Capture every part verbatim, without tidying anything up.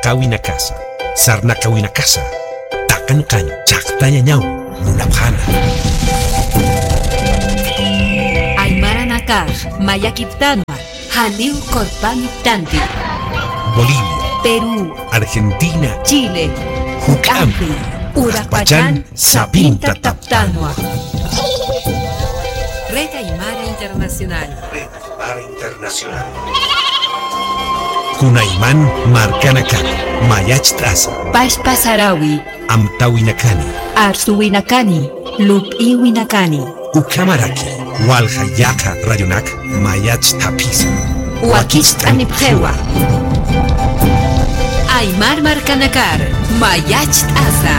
Qawinakasa, sarnaqawinakasa, taqanqañ chhaqtañañaw munapxäna. Aymaranakax mayakiptanwa, janiw qurpaniptanti. Bolivia, Perú, Argentina, Chile, juk'ampi, uraqpachan sapinta taptanwa. Red Aymara Internacional. Red Aymara Internacional. Kunayman markanakar mayacht'asa. Pachpa sarawi. Amtawinakani. Arsuwinakani. Lup'iwinakani. Ukhamaraki walja yaqha radionak mayacht'apxisa. Wakicht'anipxiwa. Aymar markanakar mayacht'asa.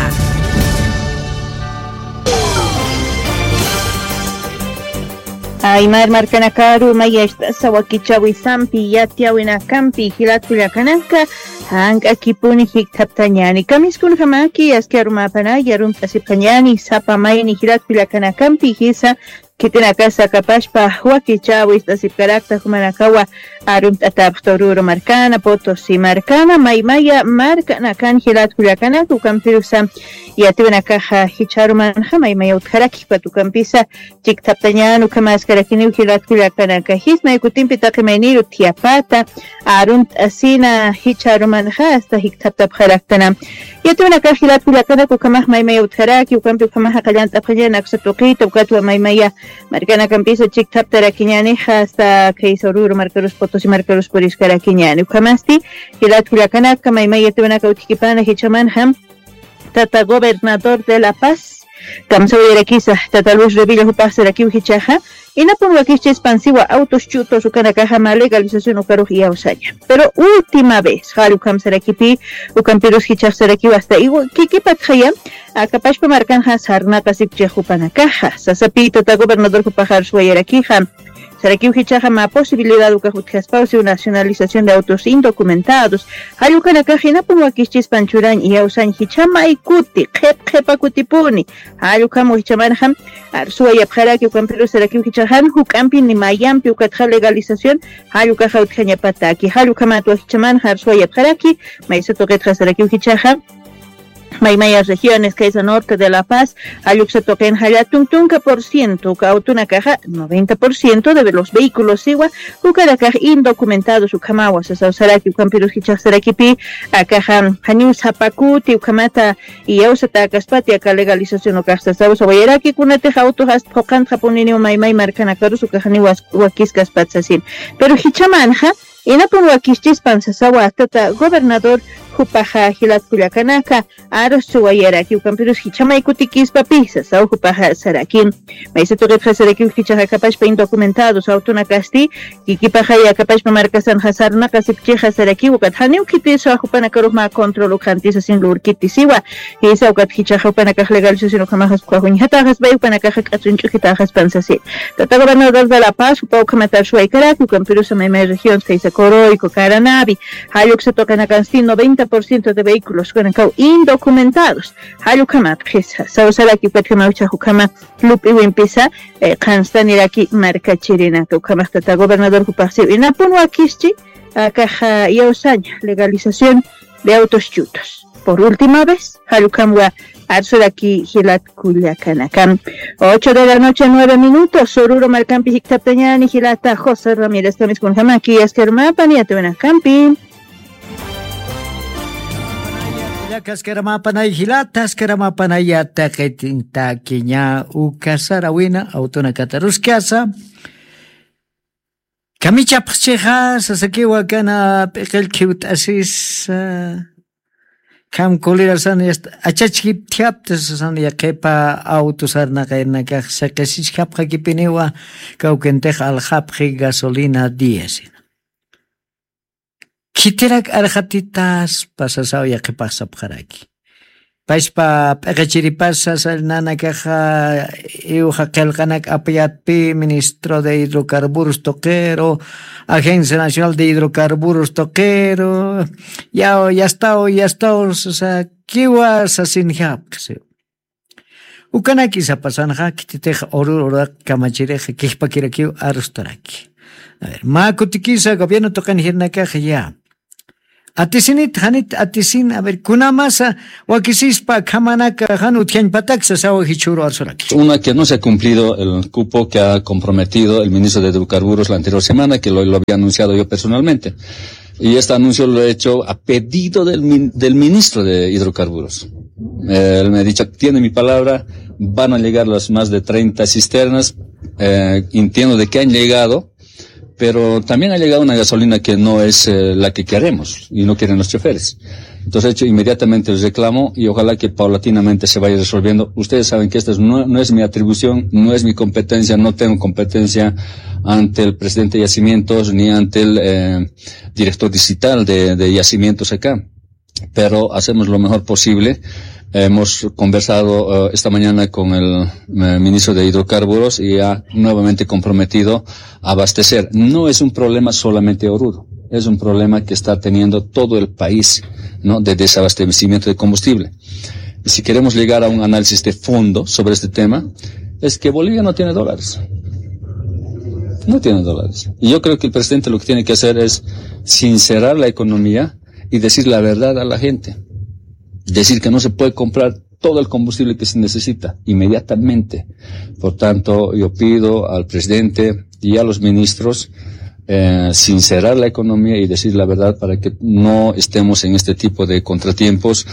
Aymar markanakaru mayacht'asa wakichäwisampi yatiyäwinakampi jilat kullakanaka, jank'akipuni jikthaptañäni. Kamiskunjamaki aski arumäpanay arumt'asipxañäni sapa mayni jilat kullakanakampi jisa, khitinakasa akapachpa wakichäwist'asipkarakta jumanakawa arumt'atäpxta Oruro markana, Potosí markana, maymaya markanakan jilat kullakanaka, ukampirusa yatiyäwinakaxa jichha arumanxa maymaya utjaraki, ukat ukampisa chikthaptañän ukhamaskarakiniw jilat kullakanaka. Jismay kutimpi taqi mayniru thiyapata, arunt'asina jichha arumanxa hasta jikthaptapxaraktana. Yatiyäwinakax jilat kullakanaka ukhamax maymaya utjaraki, ukampi ukhamaxa qallant'apxañäni aksa tuqita, ukatwa maymaya markanakampisa chikthaptarakiniñänixa hasta khaysa Oruro markarus, Potosí markarus puriskarakiñäni. Ukhamasti jilat kullakanaka maymaya yatiyäwinaka utjkipana jichhamanxa, tata gobernador de La Paz, kamsawayarakisa, tata Luis Revilla jupax sarakiw jichhaxa, inapun wakischispan siwa autos chutos ukanakaxa mä legalización ukarux iyawsaña. Pero última vez, jall ukham sarakipi, ukampirus jichhax sarakiw hasta iwa kikipatxaya, akapachpa markanxa sarnaqasipchix jupanakaxa. Sasapi tata gobernador jupax arsuwayarakixa, sarakiw jichhaxa mä posibilidad ukax utjaspaw siw nacionalización de autos indocumentados. Jall ukanakax inapun wakischispan churañ iyawsañ jichha may kuti, qhip qhipa kutipuni. Jall ukham jichhamanxa arsuwayapxaraki, ukampirus sarakiw jichhaxa jan juk'ampi ni mayampi ukatxa legalización jall ukaxa utjañapataki. Jall ukhamatwa jichhamanxa arsuwayapxaraki, maysa tuqitxa sarakiw jichhaxa maymaya regiones, khaysa norte de La Paz, jall uksa tuqinxa llätun tunka por ciento, uka autonakaxa noventa por ciento de los vehículos siwa, ukanakax indocumentados ukhamawa sasaw saraki, ukampirus jichhax sarakipi, akaxa janiw sapa kuti ukhamata iyawsatäkaspati aka legalización ukax sasaw sawayaraki, kunatix autox ast phuqantxapuniniw maymay markanakarus ukax janiw was-, wakiskaspat sasin. Pero jichhamanxa, inapun wakischispan sasawa tata gobernador jupaxa jilat kullakanaka, arsuwayaraki, ukampirus jichha may kutikispapï sasaw jupaxa saraki. Maysa tuqitxa sarakiw jichhaxa akapachpa indocumentados autonakasti, kikipaxay akapachpa markasanxa sarnaqasipchixa sarakiw, ukat janiw khitisa jupanakarux mä control ukxanti sasin lurkiti siwa. Jisa ukat jichhaxa jupanakax legalización ukhamaxas ukhax uñjatäxaspay, jupanakaxa k'atsuñ ch'ujitäxaspan sasi. Tata gobernador de La Paz, jupa ukhamat arsuwaykaraki, ukampirusa maymay regions khaysa Coroico, Caranavi, jall uksa tuqinakansti noventa por ciento de vehículos ukanakaw indocumentados. Jall ukhamat qhisa, saw saraki ukatjamaw jichhax ukhama lup'iwimpisa, eh, qhanstaniraki markachirinaka. Ukhamax tata gobernador jupax siw inapun wakischi, akaxa iyawsaña legalización de autos chutos. Por última vez, jall ukhamwa arsuraki jilat kullakanaka. Ocho de la noche, nueve minutos, Oruro markampi jikthaptañäni jilata José Ramírez, kamiskunjamaki aski arumäpani yatiyäwinakampi. Aski arumäpanay jilata, aski arumäpanay yatiqitintakiña uka sarawina autonakata aruskasa. Kamichapxchixa, sasakiwa kana p'iqillkhiwt'asisa. Kham kulirasan yasta achachkipthiapta sasan yaqhipa auto sarnaqaynakax siqisichkapxakipiniwa, kawkintix alxapxi gasolina diésina. Khitirak arxatitaspa sasaw yaqhipax sapxaraki. Pachpa p'iqichiripasa sallnanakaxa iwxa qillqanak apayatpi ministro de hidrocarburos tuqiru, Agencia Nacional de Hidrocarburos tuqiru, yaw yastaw yastaw sasakiwa sasinjapxi siw. Ukanaki sapasanxa khititix urur uraq kamachirixa kijpakirakiw arustaraki. A ver, mä kutikisa gobierno tuqin jirnakaxa ya. Atisinit, janit atisin, a ver, kunamasa wakisispa khamanaka jan utjañpatak sasawa jichhuru arsuraki. Una, que no se ha cumplido el cupo que ha comprometido el ministro de Hidrocarburos la anterior semana, que lo, lo había anunciado yo personalmente. Y este anuncio lo he hecho a pedido del min-, del ministro de Hidrocarburos. Eh, él me ha dicho, tiene mi palabra, van a llegar las más de treinta cisternas. Eh, entiendo de que han llegado, pero también ha llegado una gasolina que no es, eh, la que queremos y no quieren los choferes. Entonces he hecho inmediatamente el reclamo y ojalá que paulatinamente se vaya resolviendo. Ustedes saben que esta es, no, no es mi atribución, no es mi competencia, no tengo competencia ante el presidente de Yacimientos ni ante el, eh, director digital de, de Yacimientos acá. Pero hacemos lo mejor posible. Hemos conversado, eh, esta mañana con el, eh, ministro de Hidrocarburos y ha nuevamente comprometido a abastecer. No es un problema solamente Oruro, es un problema que está teniendo todo el país, ¿no? De desabastecimiento de combustible. Y si queremos llegar a un análisis de fondo sobre este tema, es que Bolivia no tiene dólares. No tiene dólares. Y yo creo que el presidente lo que tiene que hacer es sincerar la economía y decir la verdad a la gente. Decir que no se puede comprar todo el combustible que se necesita inmediatamente. Por tanto, yo pido al presidente y a los ministros, eh, sincerar la economía y decir la verdad para que no estemos en este tipo de contratiempos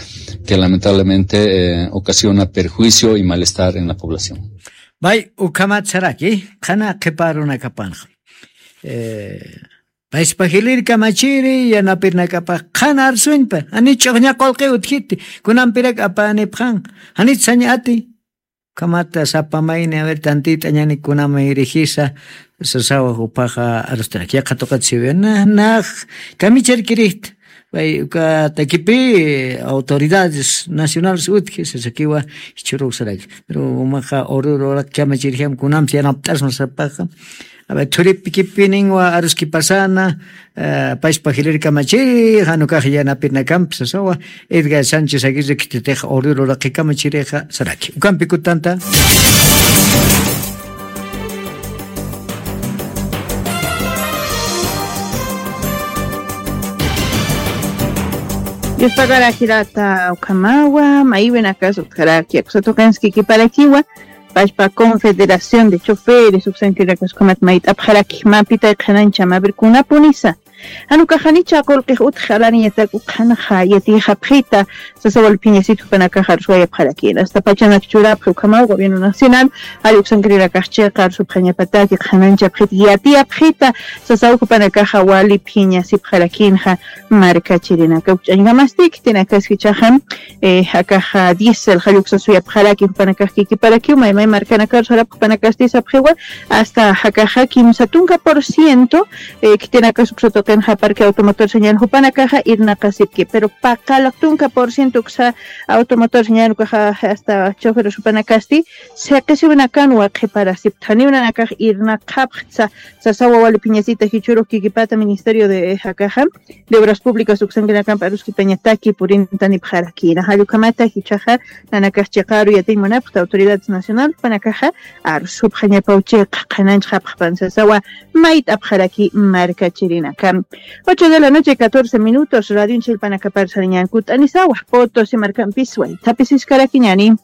que lamentablemente, eh, ocasiona perjuicio y malestar en la población. Bay, ukhamat saraki, qhana qhiparunakapanxa. Eh, Payspa jilïr kamachiri, yanapirnakapax qhan arsuñpa, jani ch'uxña qullqi utjiti, kunampirak apanipxan, jani sañati, kamata sapa mayni, a ver, tantita ñani kunama irigisa, sasawa jupaxa arustarak, yaqha tuqit siwi, na, nax, kamicharkirixta, pay, uka takipi, autoridades nacionales utji, sasakiwa, jichhürux saraki, pero umaxa urururaq kamachirjam kunamsa yanapt'asma sapaxa, A ver, thuripikipinwa aruskipasana, eh, payspa jilïr kamachiri, jan ukax yanapirnakampi sasawa, Edgar Sánchez Aguirre khititix urururaqi kamachirixa saraki. Ukampi kutanta. Dios pagará jirata ukhamawa, maywinakas utjaraki, akusatuqinskikiparakiwa, Pashpa Confederación de Choferes, uksankirakas ukhamat mayt'apxaraki, mä pitay qhanancham, a ver, kunapunisa. Jan ukax janicha qullqix utji, alaniñatak ukhanaxa yatiyxapxita, sasaw wali phiñasit jupanakax arsuwayapxarakïna. Hasta pachanak churapxi ukhamaw Gobierno Nacional, jall uksankirinakax chiqa arsupxañapataki, qhananchapxita, yatiyapxita, sasaw jupanakaxa wali phiñasipxarakïnxa markachirinaka. Ukch'añkamasti, khitinakaski jichhaxa, eh, akaxa diésel jall uksasuyapxaraki jupanakax kikiparakiw, may may markanakaru sarapxi jupanakasti sapxiwa, hasta akaxa kimsa tunka por ciento, eh, khitinakas uksa tuqinxa parque automotor señal jupanakaxa irnaqasipki, pero paqallq tunka por ciento uksa automotor señal ukaxa hasta choferes jupanakasti, siqisiwinakanwa qhiparasipxta, janiw nanakax irnaqapxtsa, sasawa wali phiñasita jichhürux kikipata Ministerio de, eh, akaxa, de Obras Públicas uksankinakampi aruskipañataki purintanipxarakïna. Jall ukhamata jichhaxa nanakax chiqaru yatiñ munapxta autoridades nacional jupanakaxa arsupxañapaw chiqa qhananchxapxpan sasawa mayt'apxaraki markachirinaka. Ocho de la noche, catorce minutos, radionchillpanakapar sarañan kut'anisawa, Potosí markampis waythapisiskaraki ñani.